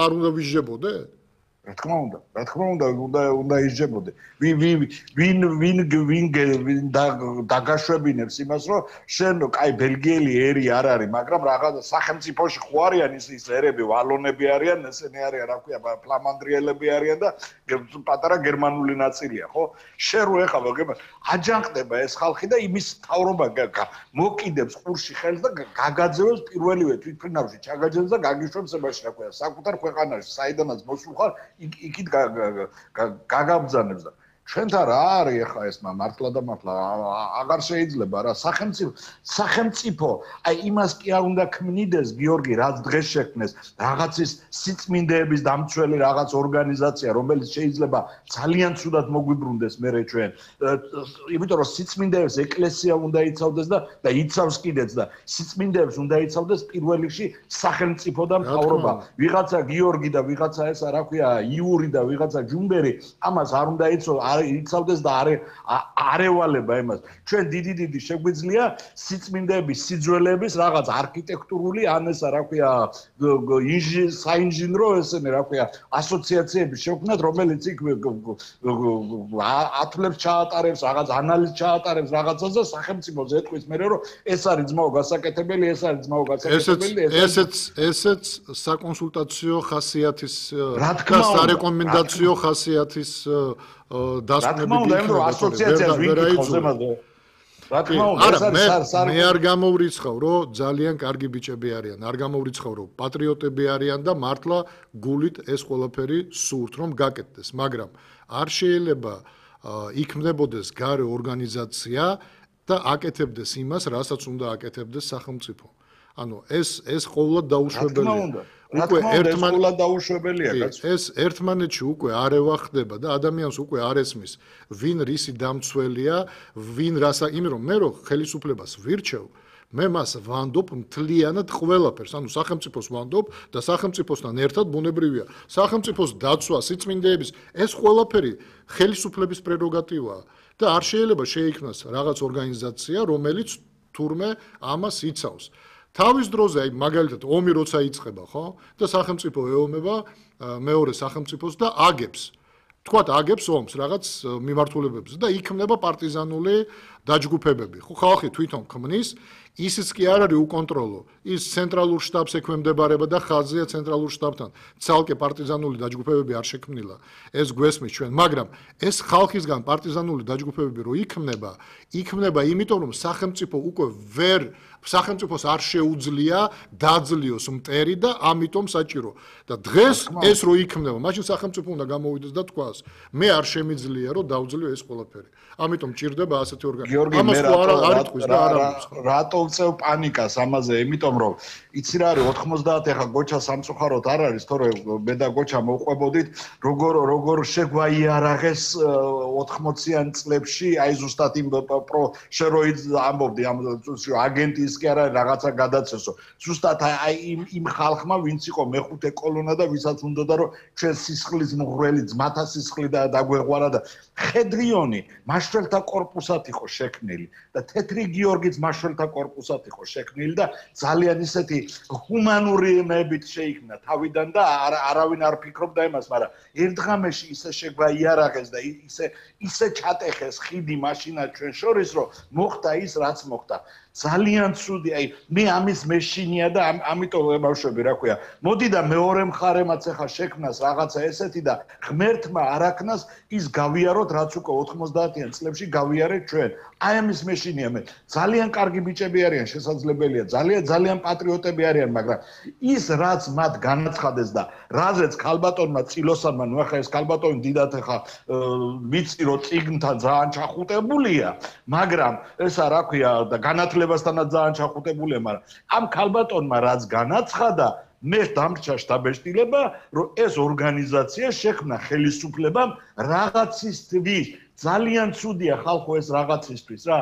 არ უნდა ვიჟებოდე? რა თქმა უნდა ისჯებოდე. ვინ დაგაშვებინებს იმას, რომ შენ კაი ბელგიელი ერი არ არის, მაგრამ რაღაც სახელმწიფოში ხო არიან ის ერები, ვალონები არიან, ესენი არიან, რა ქვია, ფლამანდრიელები არიან და პატარა გერმანული ნაწილია, ხო? შენ რო ეხლა აჯანყდება ეს ხალხი და იმის თავრობა მოკიდებს ყურში ხელს და გაგაძევებს პირველივე თვითფრინავში ჩაგაჯერებს და გაგიშვებს ებაში, რა ქვია, საკუთარ ქვეყანაში, საიდანაც მოსულ ხარ იქით გაგაბძანებს და ჩვენთან რა არის ახლა ეს მართლა და მართლა აღარ შეიძლება რა სახელმწიფო აი იმას კი არ უნდა ქმნიდეს გიორგი რაც დღეს შექმნეს რაღაცის სიწმინდეების დამცველი რაღაც ორგანიზაცია რომელიც შეიძლება ძალიან ცუდად მოგვიბრუნდეს მერე ჩვენ იმიტომ რომ სიწმინდეებს ეკლესია უნდა იცავდეს და იცავს კიდეც და სიწმინდეებს უნდა იცავდეს პირველ რიგში სახელმწიფო და მთავრობა ვიღაცა გიორგი და ვიღაცა ესა რა ქვია იური და ვიღაცა ჯუმბერი ამას არ უნდა იცავდეს და არევალება იმას ჩვენ დიდი შეგვიძლია სიწმინდეების სიძველეების რაღაც არქიტექტურული ან ესა რა ქვია საინჟინრო ესენი რა ქვია ასოციაციები შევქმნათ რომელიც იქ ათლებს ჩაატარებს რაღაც ანალიზს ჩაატარებს რაღაცას და სახელმწიფოს ეტყვის მე რომ ეს არის ძმაო გასაკეთებელი ეს არის ძმაო გასაკეთებელი ესეც საკონსულტაციო ხასიათის და სარეკომენდაციო ხასიათის დასკვნები ასოციაციას ვიკითხავ რა თქმა უნდა მე არ გამოვრიცხავ რომ ძალიან კარგი ბიჭები არიან არ გამოვრიცხავ რომ პატრიოტები არიან და მართლა გულით ეს ყველაფერი სურთ რომ გაკეთდეს მაგრამ არ შეიძლება იქმნებოდეს გარე ორგანიზაცია და აკეთებდეს იმას რასაც უნდა აკეთებდეს სახელმწიფო ანუ ეს ყოველად დაუშვებელია უკვე ერთმანეთში უკვე არევა ხდება და ადამიანს უკვე არ ესმის ვინ რისი დამცველია ვინ რასა იმიტომ რომ მე რო ხელისუფლებას ვირჩევ მე მას ვანდობ მთლიანად ყველაფერს ანუ სახელმწიფოს ვანდობ და სახელმწიფოსთან ერთად ბუნებრივია სახელმწიფოს დაცვა სიწმინდეების ეს ყველაფერი ხელისუფლების პრეროგატივაა და არ შეიძლება შეიქმნას რაღაც ორგანიზაცია რომელიც თურმე ამას იცავს თავის დროზე აი მაგალითად ომი როცა იწყება ხო და სახელმწიფო ეომება მეორე სახელმწიფოს და აგებს თქვათ აგებს ომს რაღაც მიმართულებებს და იქმნება პარტიზანული დაჯგუფებები ხო ხალხი თვითონ ქმნის ისიც კი არ არის უკონტროლო ის ცენტრალურ შტაბს ექვემდებარება და ხაზია ცენტრალურ შტაბთან ცალკე პარტიზანული დაჯგუფებები არ შექმნილა ეს გვესმის ჩვენ მაგრამ ეს ხალხისგან პარტიზანული დაჯგუფებები რო იქმნება იმიტომ რომ სახელმწიფო უკვე სახელმწიფოს არ შეუძლია დაძლიოს მტერი და ამიტომ საჭირო და დღეს ეს რო იქმნება მაშინ სახელმწიფო უნდა გამოვიდეს და თქვას მე არ შემიძლია რომ დავძლიო ეს ყველაფერი ამიტომ ჭირდება ასეთი ორგანიზაცია ამას არ იტყვის და რატო ვწევ პანიკას ამაზე იმიტომ რომ იცი რა არის 90 ეხა გოჩა სამწუხაროდ არ არის თორე მე და გოჩა მოვყვებოდით როგორ შეგვაიარაღეს 80-იან წლებში აი ზუსტად იმ შეროიდ ამბობდი ამ აგენტი ის კი არა რაღაცა გადაცესო ზუსტად აი იმ ხალხმა ვინც იყო მეხუთე კოლონა და ვისაც უნდოდა რომ ჩვენ სისხლის მღვრელი ძმათა სისხლი და დაგვეღვარა და ხედრიონი მაშველთა კორპუსად იყო შექმნილი და თეთრი გიორგიც მაშველთა კორპუსად იყო შექმნილი და ძალიან ისეთი ჰუმანური იმებით შეიქმნა თავიდან და არავინ არ ფიქრობდა იმას მაგრამ ერთღამეში ისე შეგვაიარაღეს და ისე ჩატეხეს ხიდი მაშინა ჩვენ შორის რომ მოხდა ის რაც მოხდა ძალიან ცუდი აი მე ამის მეშინია და ამიტომ ებავშვები რა ქვია მოდი და მეორე მხარემაც ახლა შექმნას რაღაცა ესეთი და ღმერთმა არაქნას ის გავიაროთ რაც უკვე 90-იან წლებში გავიარეთ ჩვენ აი ამის მეშინია მე ძალიან კარგი ბიჭები არიან შესაძლებელია ძალიან პატრიოტები არიან მაგრამ ის რაც მათ განაცხადეს და რაზეც ქალბატონმა წილოსანმა ნუ ახლა ეს ქალბატონი დიდათ ახლა ვიცი რომ წიგნთან ძალიან ჩახუტებულია მაგრამ ესა რა ქვია და განათლებასთანაც ძალიან ჩახუტებულია მაგრამ ამ ქალბატონმა რაც განაცხადა მე დამრჩა შტაბეშტილება რომ ეს ორგანიზაცია შექმნა ხელისუფლებამ რაღაცისთვის ძალიან ცუდია ხალხო ეს რაღაცისთვის რა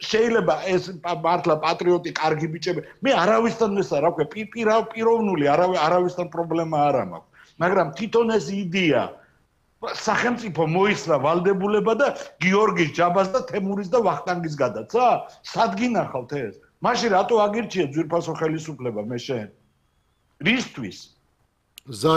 შეიძლება ეს მართლა პატრიოტი კარგი ბიჭები მე არავისთან ესა რა ქვია პიროვნული არავისთან პრობლემა არ მაქვს მაგრამ თვითონ ეს იდეა სახელმწიფო მოისლა ვალდებულება და გიორგის ჯაბას და თემურის და ვახტანგის გადაცა სად გინახავთ ეს მაშინ რატო აგირჩიეთ ძვირფასო ხელისუფლება მე შენ რისთვის ზარი